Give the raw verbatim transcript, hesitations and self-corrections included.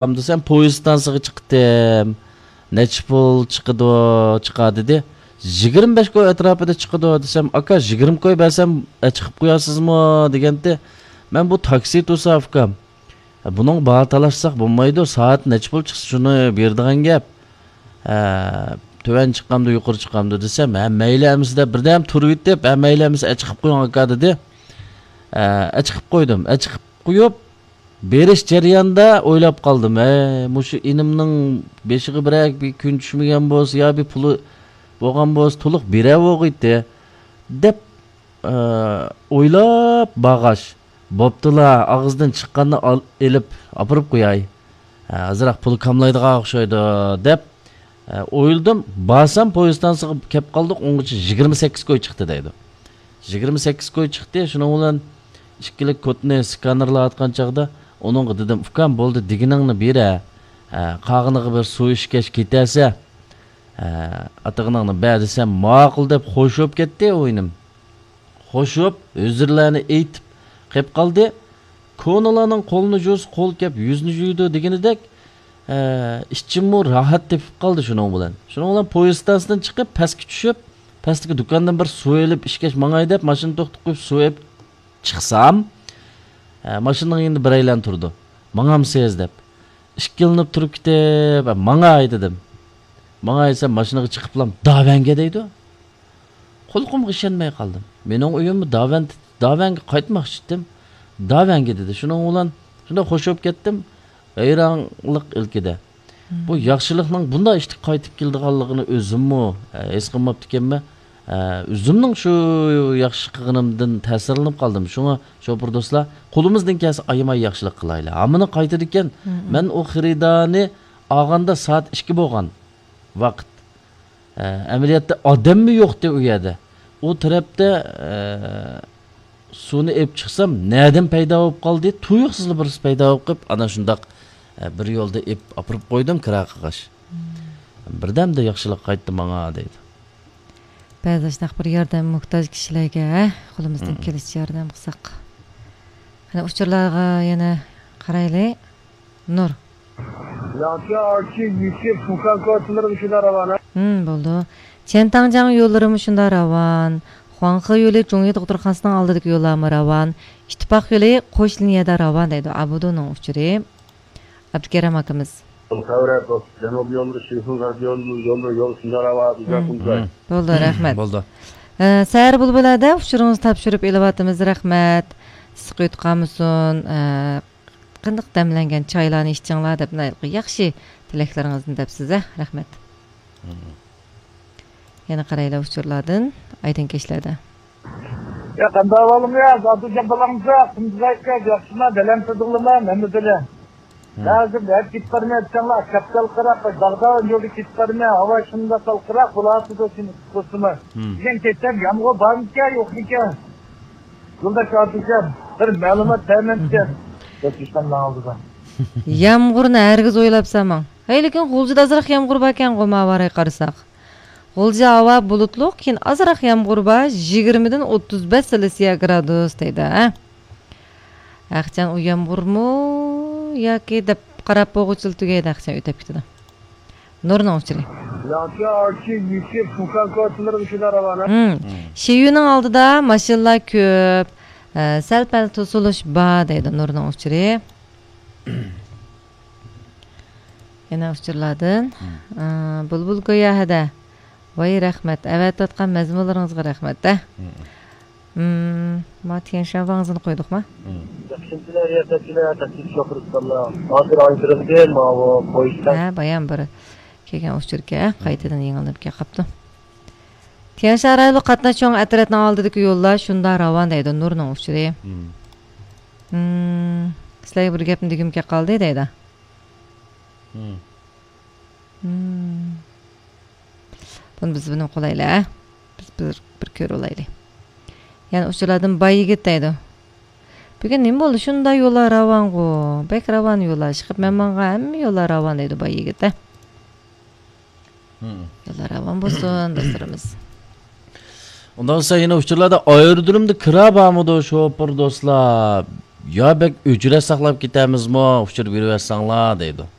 دېسەم، پويىز ئىستانسىغا چىقتىم. نەچچە پۇل چىقىدۇ، چىقار دېدى. يىگىرمە بەش كوي ئەتراپىدا چىقىدۇ دېسەم، ئاكا، يىگىرمە كوي بەرسەم، ئە، چىقىپ قويارسىزمۇ دېگەنتى. مەن بۇ تاكسى تۇرسا، ئۇكام. بۇنىڭغا باھا تالاشساق بولمايدۇ، سائەت نەچچە پۇل چىقسا شۇنى بېرىدىغان گەپ. ھە، تۆۋەن چىقامدۇ، يۇقىرى چىقامدۇ دېسەم، ھە، مەيلى ئەمىسە دەپ بىردەم تۇرۇۋېتىپ، ھە، مەيلى ئەمىسە، ئە، چىقىپ قويۇڭ ئاكا دېدى. ھە، ئە، چىقىپ قويدۇم. ئە، چىقىپ قويۇپ، بېرىش جەريانىدا ئويلاپ قالدىم، ھەي، مۇشۇ ئىنىمنىڭ بېشىغا بىرەر بىر كۈن چۈشمىگەن بولسا يا بىر پۇلى بولغان بولسا تولۇق بېرەۋوغىيتتى دەپ، ئە، ئويلاپ باغاچ، بوپتۇلا، ئاغزىدىن چىققاننى ئال-، ئېلىپ ئاپىرىپ قوياي. ئە، ئازراق پۇل كاملايدىغان ئوخشايدۇ دەپ، ئە، ئويلىدىم. بارسام پويىز ئىستانسىغا كەپ قالدۇق، ئۇنىڭغىچە يىگىرمە سەككىز كوي چىقتى دەيدۇ. يىگىرمە سەككىز كوي چىقتى، شۇنىڭ بىلەن ئىككىلىك كودنى سكانېرلاۋاتقان چاغدا ئۇنىڭغا دېدىم، ئۇكام، بولدى، دېگىنىڭنى بېرە. ئە، قالغىنىغا بىر سۇ ئىچكەچ كېتەرسە، ئە، ئاتىغىنىڭنى بەر دېسەم، ماقۇل دەپ خوش بولۇپ كەتتى ئۇ ئىنىم. خوش بولۇپ، ئۆزرىلەرنى ئېيتىپ قېپ قالدى. كونىلارنىڭ قولىنى جۇيسا قول كەپ يۈزنى جۇيىدۇ دېگىنىدەك، ئە، ئىچىممۇ راھەت تېپىپ قالدى شۇنىڭ بىلەن. شۇنىڭ بىلەن پويىز ئىستانسىدىن چىقىپ، پەسكە چۈشۈپ، پەستىكى دۇكاندىن بىر سۇ ئېلىپ ئىچكەچ ماڭاي دەپ، ماشىنا توختىتىپ قويۇپ سۇ ئېلىپ چىقسام، ئە، ماشىنىنىڭ يېنىدا بىرەيلەن تۇرىدۇ. ماڭامسىز دەپ. ئىككىلىنىپ تۇرۇپ كېتىپ، ماڭاي دېدىم. ماڭاي دېسەم، ماشىنىغا چىقىپلام، داۋەنگە دەيدۇ. قۇلىقىمغا ئىشەنمەي قالدىم. مېنىڭ ئۆيۈممۇ داۋەن، داۋەنگە قايتماقچى ئىدىم. داۋەنگە دېدى. شۇنىڭ بىلەن شۇنداق خوش بولۇپ كەتتىم. ھەيرانلىق ئىلكىدە. بۇ ياخشىلىقنىڭ بۇنداق ئىشتىن قايتىپ كېلىدىغانلىقىنى ئۆزۈممۇ، ئە، ھېس قىلماپتىكەنمەن. ئە، ئۆزۈمنىڭ شۇ ياخشى قىلغىنىمدىن تەسىرلىنىپ قالدىم. شۇڭا شوپۇر دوستلار، قولىمىزدىن كەلسە ئايىماي ياخشىلىق قىلايلى. ھاممىنى قايتىدىكەن، مەن ئۇ خېرىدارنى ئالغاندا سائەت ئىككى بولغان ۋاقىت. ئە، ئەمەلىيەتتە ئادەممۇ يوقتى ئۇ يەردە. ئۇ تەرەپتە، ئە، سۇنى ئېلىپ چىقسام، نەدىن پەيدا بولۇپ قالدى؟ تۇيۇقسىزلا بىرسى پەيدا بولۇپ قېلىپ، ئانا شۇنداق، ئە، بىر يولدا ئېلىپ ئاپىرىپ قويدۇم كىرا قىلغاچ. بىردەمدە ياخشىلىق قايتتى ماڭا، دەيدۇ. بەزى شۇنداق بىر ياردەم موھتاج كىشىلەرگە، ھە، قولىمىزدىن كېلىشىچە ياردەم قىلساق. قېنى ئۇچۇرلارغا يەنە قارايلى. نۇر. ياڭچى ئارچى يۈكى فۇكان كوچىلىرى شۇنداق راۋان، ھە؟ ھىم، بولدى. چيەنتاڭجياڭ يوللىرىمۇ شۇنداق راۋان. خۇاڭخې يولى جۇڭيى دوختۇرخانىسىنىڭ ئالدىدىكى يوللارمۇ راۋان. ئىتتىپاق يولى قوش لىنىيەدە راۋان دەيدۇ ئابۇدۇنىڭ ئۇچۇرى. ئابدۇكېرىم ئاكىمىز. خەۋەر، جەنۇبىي يوللىرى، شىخۇن غەربىي يوللىرى، يوللىرى، يول شۇنداق راۋان، بىزگە شۇنداق. بولدى، رەھمەت. بولدى. ئە، سەھەر بۇلبۇلەردە ئۇچۇرىڭىزنى تاپشۇرۇپ ئېلىۋاتىمىز، رەھمەت. ئىسسىق ئۆتۈپ قالمىسۇن. ئە، قېنىق دەملەنگەن چايلارنى ئىچىڭلار دەپ، ياخشى تىلەكلىرىڭىزنى دەپسىز، ھە؟ رەھمەت. يەنە قارايلى ئۇچۇرلاردىن، ئايدىڭ كەچلەردە. يا، قانداق ئەھۋالىڭ يا؟ زادىجان بالاڭزا، قۇمزايكا، ياخشىما، بەلەن تۇردۇڭلىما، مەمە بىلە. ھازىر ھەر كېتىپ بارمايۋاتساڭلار، كاپتال قىراق، داغدا يولدا كېتىپ بارماي، ھاۋا شۇنداق سالقىراق بولاتىدۇ، سېنى قۇتقۇزسىمۇ. دېگەن كەتسەم، يامغۇر بارمىكەن، يوقمىكەن؟ يولداش ئابدۇكەم، بىر مەلۇمات بەرمەمسىكەن؟ دەپ ئىشخانىنىڭ ئالدىدا. يامغۇرنى ھەرگىز ئويلاپ سالماڭ. ھەي، لېكىن غۇلجىدا ئازراق يامغۇر باركەن، غۇماۋارەي قارىساق. غۇلجا ھاۋا بۇلۇتلۇق، كېيىن ئازراق يامغۇر بار، يىگىرمىدىن ئوتتۇز بەش سېلسىيە گرادۇس دەيدۇ، ھە؟ ھەقچان ئۇ يامغۇرمۇ ياكى دەپ قاراپ بولغۇچىلا تۈگەيدۇ، ھەقچان ئۆتۈپ كېتىدۇ. نۇرنىڭ ئۇچۇرى. ياڭچى ئارچى يۈكى فۇكان كوچىلىرى شۇنداق راۋان، ھە؟ شىيۈنىڭ ئالدىدا ماشىنىلار كۆپ، ئە، سەل-پەل توسۇلۇش بار دەيدۇ نۇرنىڭ ئۇچۇرى. يەنە ئۇچۇرلاردىن. ئە، بۇلبۇل گويا ھەدە. ۋاي رەھمەت، ئەۋەتىۋاتقان مەزمۇنلىرىڭىزغا رەھمەت، ھە. مم، ما تيەنشان ۋاڭزىنى قويدۇقما؟ ياخشىمسىلەر، رىياسەتچىلەر، تەكلىپ شوپۇرۇستانلار. ھازىر ئايدىرىمدىن ماۋۇ پويىزدا. ھە، بايام بىر كەلگەن ئۇچۇركەن، قايتىدىن يېڭىلىنىپ كېلىپ قاپتۇ. تيەنشان رايونلۇق قاتناش چوڭ ئەترەتنىڭ ئالدىدىكى يوللار شۇنداق راۋان دەيدۇ نۇرنىڭ ئۇچۇرى. مم، سىلەرگە بىر گەپنى دېگۈم كېلىپ قالدى دەيدۇ. مم. بۇنى بىز بىلىپ قويايلى، ھە؟ بىز بىر، بىر كۆرۈۋالايلى. يەنە ئۇچۇرلاردىن باي يىگىت دەيدۇ. بۈگۈن نېمە بولدى؟ شۇنداق يوللار راۋانغۇ. بەك راۋان يوللار. ئىشقىلىپ مەن ماڭغان ھەممە يوللار راۋان دەيدۇ باي يىگىت، ھە؟ يوللار راۋان بولسۇن، دوستلىرىمىز. ئۇنداق بولسا يەنە ئۇچۇرلاردا ئايرودرومدا كىرا بارمىدۇ، شوپۇر دوستلار؟ يا بەك ئۆچرەت ساقلاپ كېتەمىزمۇ، ئۇچۇر بېرىۋەتسەڭلار دەيدۇ.